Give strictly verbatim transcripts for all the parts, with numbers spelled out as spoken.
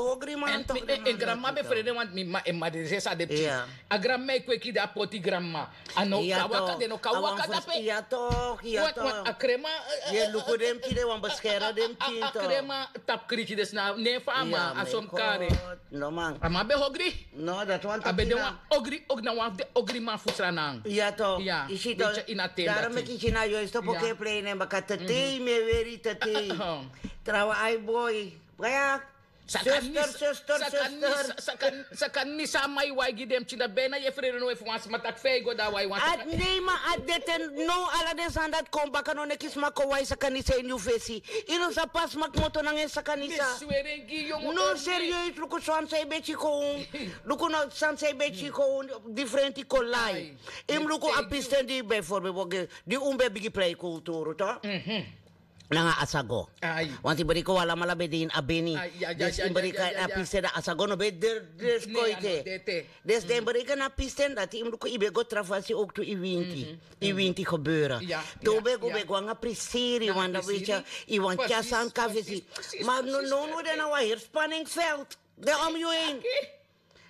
so ogri man. En granma ben frede want mi ma en ma den sesa de pikin. A granma e kweki de a poti granma. A no kan waka, den no kan waka dape. Ya tok, ya tok. A krema. Ye luku den pikin de wan beskere den pikin. A krema tapu kriki de sna nen fu a man a som kare. No man. A man ben ogri. No dati wan a ben de wan. Ogri ogri na wan fu den ogri man fu sranan. Ya tok. Isi tok. Daro meki kina yo isto poke plei nen baka tetei me weri tetei. Trawa ai boi. Baya. Sakanisa. Sakanisa a man e wai gi den pikin dati, ben na yefreri no e fu wan sma taki fe a e go dan a wai wan sma. Nei, ma a dete. No, ala den sani dati kon baka, no neki sma kon wai sakanisa ini yu fesi. Yu no sabi pe a sma kmoto nanga en sakanisa. No, serieus, luku san san yu ben tyiko un. Luku no san san yu ben tyiko un. Difrenti kon lai. Yu mus luku a pisten di yu ben forme boge di un ben bigi prei kulturu to. Nanga asago. Want yu breki wan alamala ben de ini a beni. Dus yu breki na a pisten dati, asago no ben de. Dus koite. Dus den breki na a pisten dati, yu mus luku yu ben go tra fasi owktu yu winti. Yu winti gebeuren. Te un ben go ben go nanga prisiri, want dan weet yu, yu wani tyari sani kon na fesi. Ma no, no, no, den na wan heri spanningsveld. Den om yu heen.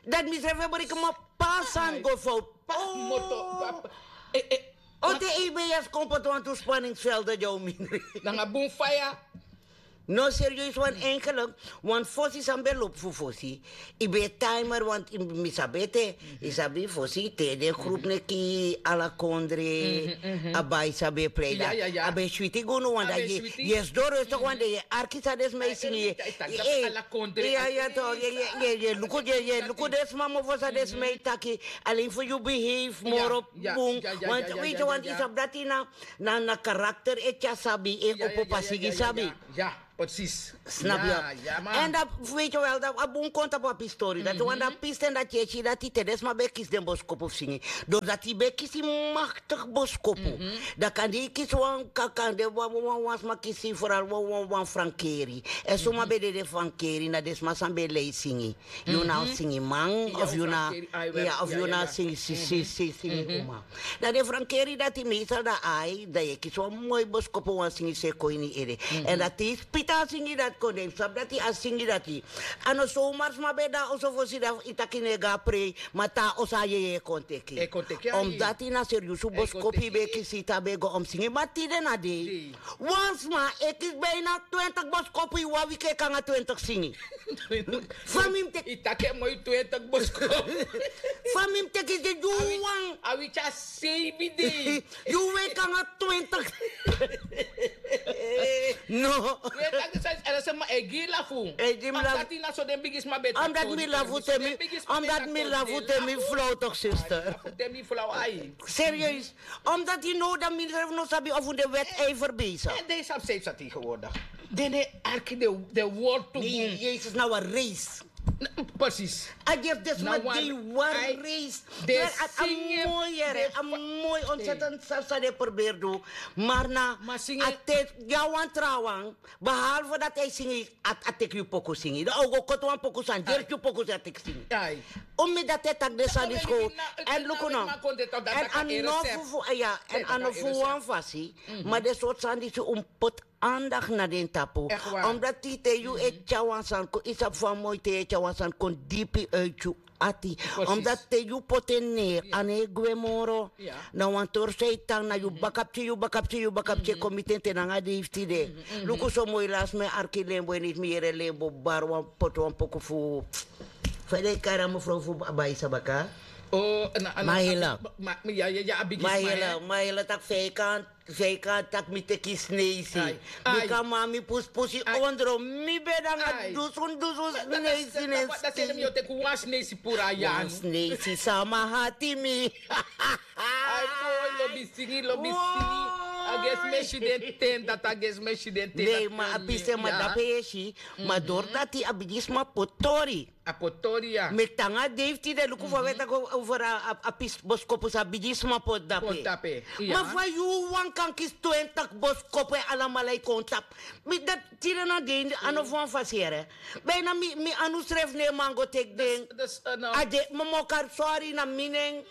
Dati mi srefi e breki, ma pe a sani go fout. Pe a moto, pe a, eh, eh. O te yu ben yesi kon poti wantu spanningsvelden di a o mindri. Nanga bun faya. No, serieus, want eigenlijk, want fosi san ben lobi fu fosi, yu ben e timer, want yu, mi sabi ete, yu sabi fosi, te den groep neki ala kondre, a bai san ben e plei dati. A ben switi gi unu, want dan yu e sidon rustig, want dan yu e arki san den sma e singi. Yu e, yu e, yu e luku, yu e luku den sma mofo san den sma e taki. Alleen fu yu behave moro bun. Want weet yu, want yu sabi dati na, na, na karakter e tyari sabi, e opo pasi gi sabi. Precies. Snap yu? En dan weet yu wel, dan a bun kon tapu a pistori. Dati wan, dan pisten dati yu e si dati te den sma ben e kisi den boskopu fu singi. Dus dati yu ben e kisi machtig boskopu. Dan kande yu kisi wan, ka-, kande wan, wan, wan, wan sma kisi vooral wan, wan, wan frankeri. En suma ben de den frankeri, na den sma san ben e lei singi. Yu na singiman, of yu na, ya, of yu na singi, si, si, si, singi uma. Dan den frankeri dati meestal dan ai, dan yu e kisi wan moi boskopu wan singi san e kon ini yu ede. En dati yu poti a singi dati kon, dan yu sabi dati a singi dati. A no so mars ma ben de na oso fosi dan yu taki no e go a prei, ma te a oso a yeye e kon teki. Omdati na seriusu boskopu yu ben e kisi te a ben e go om singi, ma tide na dei. Wan sma e kisi bijna twintig boskopu ini wan wiki, e kon nanga twintig singi. Fa mi mus teki. Yu taki en moi, twintig boskopu. Fa mi mus teki, yu wan. A wiki a seibi dei. Yu weki nanga twintig. No. Yu e taki san, san, san, ma e gi lafu. E gi mi lafu. Omdati na so den bigisma ben e taki. Omdati mi lafu te mi, omdati mi lafu te mi flauw toch, zuster. Te mi flauw, ai. Serieus. Omdati now dan mi srefi no sabi of un de wedijver bezig. En den sabi san yu sabi tegenwoordig. Den no e arki den, den wortu bun. Jezus, na wan race. Precies. A gersi den sma de wan race. A moi, a moi ontzettend san den e probeer du. Maar na a te, ya wan trawan. Behalve dati a e singi, a, a teki yu poku singi. Dan a o go koti wan poku sani, gersi yu poku san a teki singi. Un mi dati e taki den sani schoon. En luku no. En a no fu, fu, ya, en a no fu wan fasi. Ma den sortu sani disi un poti aandacht na den tapu. Omdati te yu e tyari wan sani kon, yu sabi fa moi te yu e tyari wan sani kon dipi uit yu ati. Omdati te yu poti en neer, a no e gwe moro. Na wan tori san e tan na yu baka pikin, yu baka pikin, yu baka pikin e kon miti en te nanga dei fu tide. Luku so moi, lasi mi e arki lembo, en iti mi yere lembo bari wan, poti wan poku fu, fa den e kari a mevrouw fu Abaisa baka. Mahela. Mahela, Mahela taki vijkant. Vijkant taki mi teki sneisi. Bika mami pusi pusi ondro mi ben nanga dusun dusun sneisi. Dati seni mi o teki wan sneisi puru a yanu. Wan sneisi sama hati mi. Ai moi, lobi singi, lobi singi. A gersi mi e si den ten, dati a gersi mi e si den ten. Nei, ma a pisten ma dape yu e si. Ma dori dati a bigisma poti tori. A poti tori, ya. Meki te nanga dei fu tide, luku fa wi e taki over a, a, a pis boskopu san bigisma poti dape. Ma fa yu wan kan kisi twintig boskopu en alamala e kon tapu. Mi dati tide na dei a no fu wan fasi yere. Bijna mi, mi anu srefi no e man go teki den. A de, mi o kari sori na mi nen.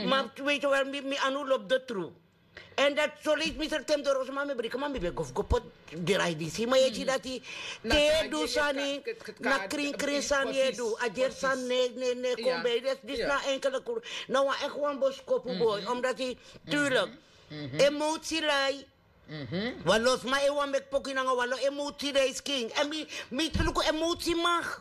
Ma weet yu wel, mi, mi anu lobi de tru. En dati so leisi mi srefi te mi doro so ma mi briki, ma mi ben go fu go poti drai disi. Ma yu e si dati te yu e du sani, na krin krin sani yu e du. A gersi sani no e, no e, no e kon bij. Disi, disi na enkele kuru. Na wan echt wan boskopu boi. Omdati, tuurlijk, emotie lai. Wan lo sma e wani meki poku nanga wan lo emotie dei skin. En mi, mi luku emotie mag.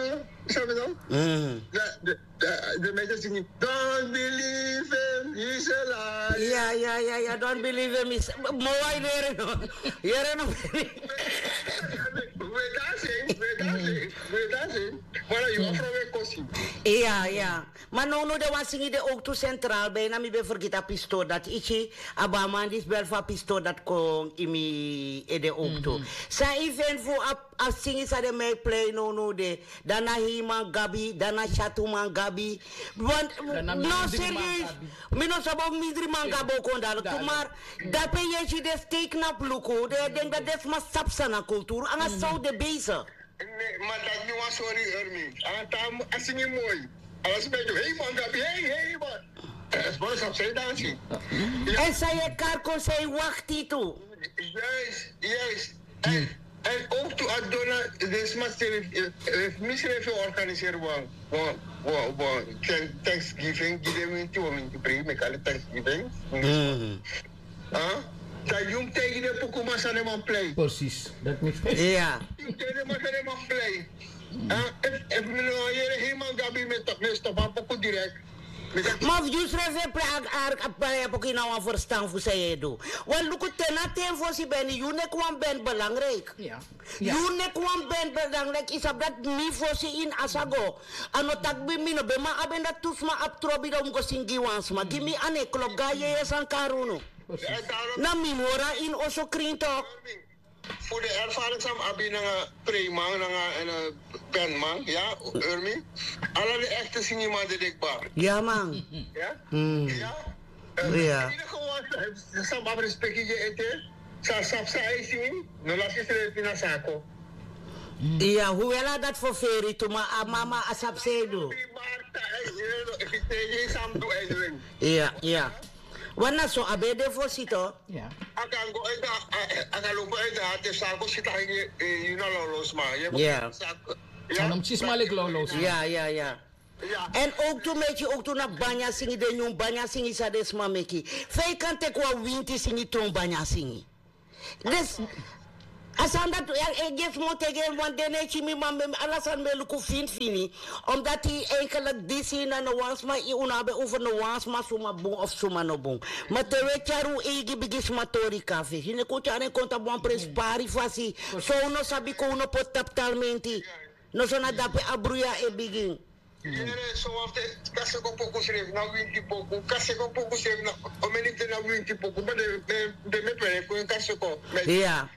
Sabi no? Mm. De, de, de, de mensen zingen, "Don't believe him, he's a liar." Ja, ja, ja, ja, don't believe him, he's a... Mo wai leren, no. Leren, no. We dancing, we dancing, we dancing. Mara yu afro we kosi. Iya, iya. Ma no, no, de wan singi de owktu sentral, bijna mi ben fergiti a pistori dati. Iki, a baman disi bel fu a pistori dati kon gi mi ede owktu. San yu feni fu a, a singi san den man e plei no, no, de, dan na heiman gabi, dan na syatuman gabi. Want no, serieus, mi no sabi o mindri man gabi o kon dati. Mara dape yu e si den steiknap luku, den e denki dati den sma sabi san na kulturu, nanga san un de bezig. Ne, ma dati mi wan sori, Ermi. A tan a singi moi. Ala sma e du, heiman gabi, hei, heiman. Esposo sabi san yu dansi. Èn san yu e kari kon, san yu wakti tu. Yes, yes. Èn, èn owktu a dona, den sma srefi, eh, eh, mi srefi organiseri wan, wan, wan, wan, thank-, thanksgiving, gi den winti, wan winti prei, mi kari thanksgiving. Mhm. Ah? Dan yu mus taigi den pukuman san den man plei. Precies, dat mi fesi. Ja. Yu mus taigi den man san den man plei. Ah, efu, efu mi no yere heiman gabi, mi e stop, mi e stop a puku direct. Ma fu yu srefi e plei a, a, a, a puku, yu no abi wan ferstan fu san yu e du. Wan luku, te na ten fosi ben yu neki wan ben belangrijk. Ja. Yu neki wan ben belangrijk, yu sabi dati mi fosi ini a sa go. A no taki mi no ben man abi en, dati tu sma abi trobi dan un go singi wan sma. Gi mi a no e klopu, go na yeye san kari unu. Na mi mus hori a ini oso krin tok. Fu den ervaring san mi abi nanga preiman, nanga, eh, bandman, ya, Ermi. Ala den echte singiman dede kba. Ya, man. Ya? Mm. Ya? Eh, ya. Ini gewoon, eh, san mi abi respeki gi ete, san, san, san a e singi, no lasi srefi na sako. Ya, hoewel a dati ferferi tu, ma a mama a sabi san e du. Ya, ya. Wan na so a ben de fosi tu. Ya. A kan go en da, a, a kan lobi en da, te sako si taki, eh, yu na lolo sma. Ya. A no mus si sma leki lolo sma. Ya, ya, ya. Ya. Èn owktu meki, owktu na banya singi, den nyun banya singi san den sma meki. Fa yu kan teki wan winti singi tron banya singi. Dus, a sani dati, e, e, gi sma o teki en wan de, ne, tyi mi man ben, ala sani ben luku fini fini. Omdat yu eigenlijk disi na no wan sma, yu no abi over no wan sma suma bun of suma no bun. Ma te wi e tyari un eigi bigisma tori kon na fesi, yu no kon tyari en kon tapu wan prenspari fasi. So un no sabi kon, un no poti tapu talmenti. No, so na dape a bruya e bigin. Yere, so wan fu den kaseko poku srefi na winti poku. Kaseko poku srefi na, o meni de na winti poku. Ma den, den, den mi e pere kon kaseko. Ya.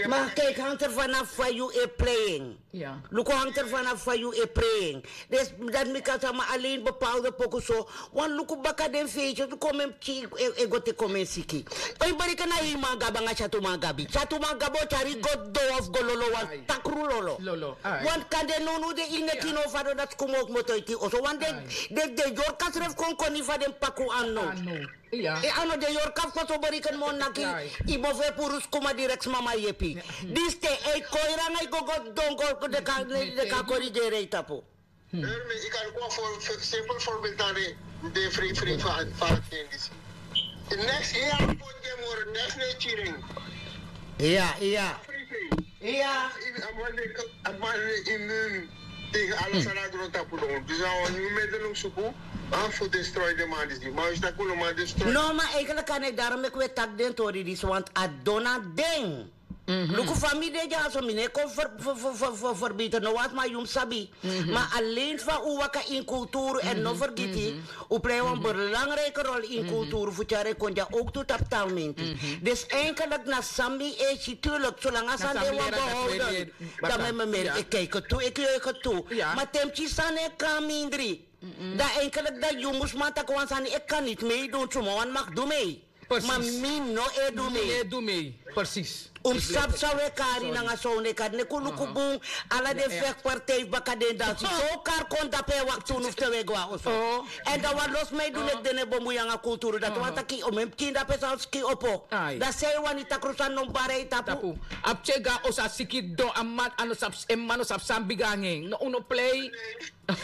Ma kijk, hangt er vanaf fa yu e plei en. Ya. Luku, hangt er vanaf fa yu e plei en. Dus dati mi kan taki, ma alleen bepaalde poku so. Wan luku baka den feestjes, luku, men pikin e, e go te kon men siki. Yu bereken na heiman gabi nanga syatuman gabi. Syatuman gabi o tyari go don of go lolo wan takru lolo. Lolo, ai. Want kande nownow den e neti no fadon dati skuma o kmoto iti oso. Want den, den, den yorka srefi kon koni fa den paku a no. A no. Ya. E a no, den yorka fu koso bereken mo naki. Ai. Yu mofo e puru skuma direct, mama yepi. Ya. Disi te yu e koi ranga, yu go go don go, den kan, den kan korigeri yu tapu. Ermi, yu kan kon fu, fu, simpel voorbeeld dan de, de free, free van, van Kendis. Next year, put them more, next year, cheering. Ya, ya. Free, free. Ya. A man de, a man de immuun tegen alles aan de grond tapu don. Dus a wan nyun middel suku, ah, fu destroy den man disi. Ma wi si taki un no man destroy. No, ma eigenlijk kan ik daarom, ik weet tak den tori disi, want a dona den. Mhm. Luku, fa mi de dyaso, mi no e kon fer-, fer-, fer-, fer-, fer-, ferbeter no wan sma, yu mus sabi. Mhm. Ma alleen fa un waka ini kulturu, èn no fergiti, un plei wan belangrijke rol ini kulturu fu tyari en kon dya owktu tapu talmenti. Mhm. Dus eigenlijk na san mi e si, tuurlijk, solanga san de wan behouden, dan mi e meri, ik kijk het toe, ik juich het toe. Ja. Ma te mi si sani e kon mindri. Dan eigenlijk dan yu mus man taki wan sani, ik kan niet meedoen, suma wan mag du mee. Precies. Ma mi no e du mee. Mi no e du mee. Precies. Un sabi san un e kari nanga san un no e kari. Neki un luku bun, ala den vechtpartij baka den dansi. So un kari kon dape e wakti unu fu te un e go na oso. Èn dan wan lo sma e du neki den no e bemui nanga kulturu. Dati wani taki omeni pikin dape san skin opo. Ai. Dan san yu wani, takru sani no mus bari yu tapu. Tapu. A pikin e go na oso, a siki don, a man, a no sabi, en man no sabi san bigi nanga en. No, un no plei.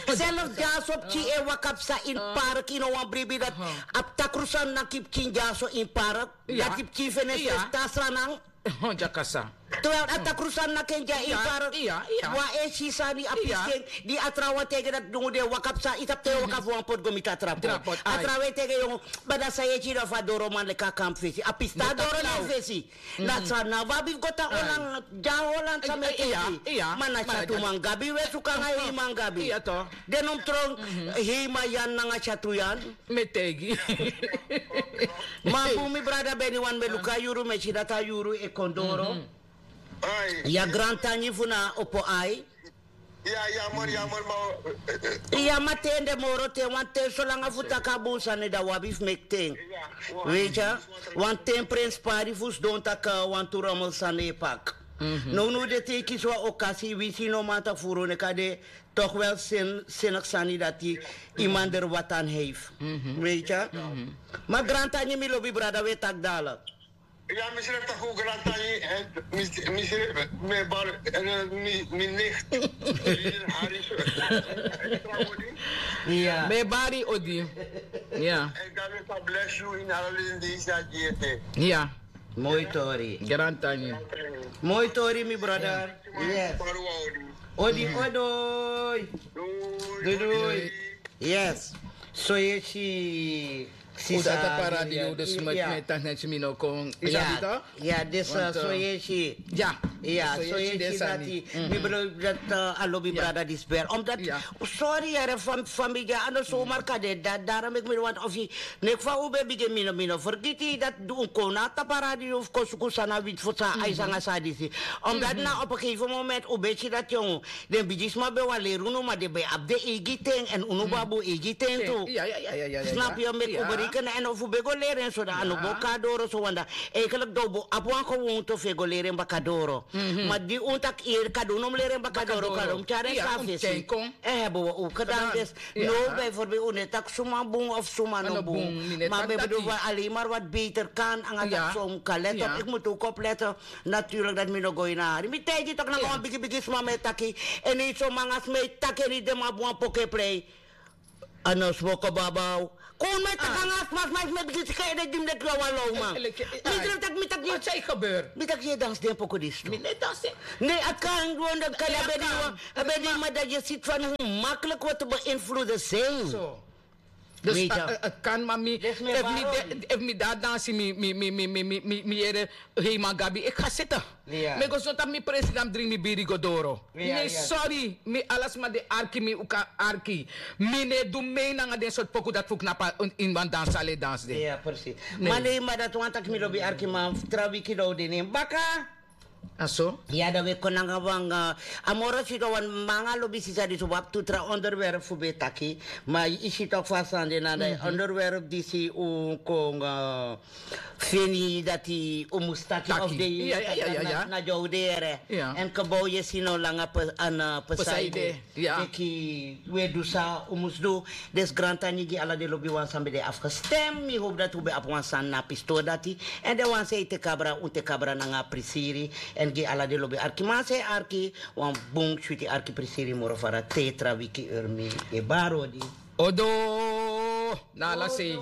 Zelf dyaso pikin e waka psa ini park, yu no wani bribi dati. A takru sani naki pikin dyaso ini park. Dati pikin feni e fesi, ta Sranan. Dyakasa. Wel a takru sani na ken dya yu faro. Wan e si sani a pisten di a trawan tege dati dungu den waka psa yu tapu te yu waka fu wan poti go miti a trapo. A trawan e tege yu bada san yu e si dan fu a doroman leki a kampu fesi a pisten a doro na en fesi. Na san na wan abi fu go tan holan dya holan san mi e teki. Ma na syatuman gabi we suku nanga heiman gabi. Den no mus tron. Heiman yan nanga syatu yan. Mi e taigi. Ma bun mi brada ben ini wan mi e luku a yuru mi e si dati a yuru e kon doro. Ya grantangi fu na opo ai. Ya ya mori ya mori ma. Ya ma ten de moro ten wan ten solanga fu taki a bun sani dan wi abi fu meki ten. Weiti ya. Wan ten prenspari fu sidon taki wantu romel sani e paki. Nownow de te yu kisi wan okasi winsi no man taki furu neki a de. Tok wel sinigi sani dati. Yu man deri watan heifi. Weiti ya. Ma grantangi mi lobi brada wi e taki dala. Ya mi srefi taki un grantangi. Mi srefi mi e bari mi nicht. Hari so. Mi e bari odi. Ya. En dan mi kan bless you in ala lin di sa diete. Ya. Moi tori. Grantangi. Moi tori mi brother. Yes. Odi odoi. Doi doi. Yes. So yesi. Sisa. Uda ta paradi yu dus met met tan neti mi no kon. Isabita. Ya disi so yesi. Ya. Ya so yesi dati. Mi belo dati a lobi brada disi bel omdat. Sori yere famili a no somar kade dati dara meki mi no want ofi. Neki fa un ben bigin mi no mi no fergiti dati un kon na a taparadi yu fu kon suku san na witi fu san a yu sanga san a disi. Omdat na op en gegeven moment un ben si dati yongu. Den bigisma ben wan leri unu ma den ben abi den eigi ten èn unu ben abi un eigi ten tu. Snapu yu meki un bereikeni èn efu un ben go leri en so dan a no bo kon na doro so wan dan. Eigenlik dan un bo abi wan gewoonte fu e go leri en baka doro. Ma di un taki yu kado un no mus leri en baka doro kado un mus tyari en kon na fesi. En hebi wi un kedan desi. No, bijvoorbeeld un no e taki suma bun of suma no bun. Ma mi e bedoel wan alimar wat beter kan nanga dati so un kan leti op iki mus tu kopu leti. Naturlik dati mi no go ini a hari mi taigi toki nanga wan bigi bigi sma mi e taki. Èn yu so manga sma e taki èn yu den man abi wan poku e prei. A no smoko babaw. Kon mi e taki nanga a sma sma e sma e bigin sika ede di mi de tu a wan lawman. Mi srefi taki mi taki yu e dansi den poku disi tu. Ne a kan du on dan kan a ben di wan a ben di wan dati yu e siti fan hu maklik watu ben influde sen. Dus a kan mami. Efu mi de a dansi mi yere heiman gabi iki ga siti. Mi e go soni tapu mi president dringi mi biri go doro. Ne sori mi ala sma di e arki mi un kan arki. Mi no e du mei nanga den sortu poku dati fu knapu ini wan dansi ala e dansi de. Ma nei ma dati wani taki mi lobi arki man fu tra wiki dan un de ne en baka. A so ya dan un e kon nanga wan a moro sidon wan manga lobi sisa disi un abi tu tra onderwerp fu ben e taki. Ma yu si toki fu a sani de na dan a onderwerp disi un kon feni dati un mus taki of de na di a un de yere. Èn keba un yesi no langa pesaide. Meki un e du san un mus du. Desi grantangi gi ala den lobiwan san ben de afgestem mi hopu dati un ben abi wan sani na a pistori dati. Èn den wan san e teki abra un teki abra nanga a prisiri. Èn gi ala den lobi arkiman san e arki wan bun switi arki prisiri moro fara te tra wiki eri mi e bari odi. Odo na ala sei.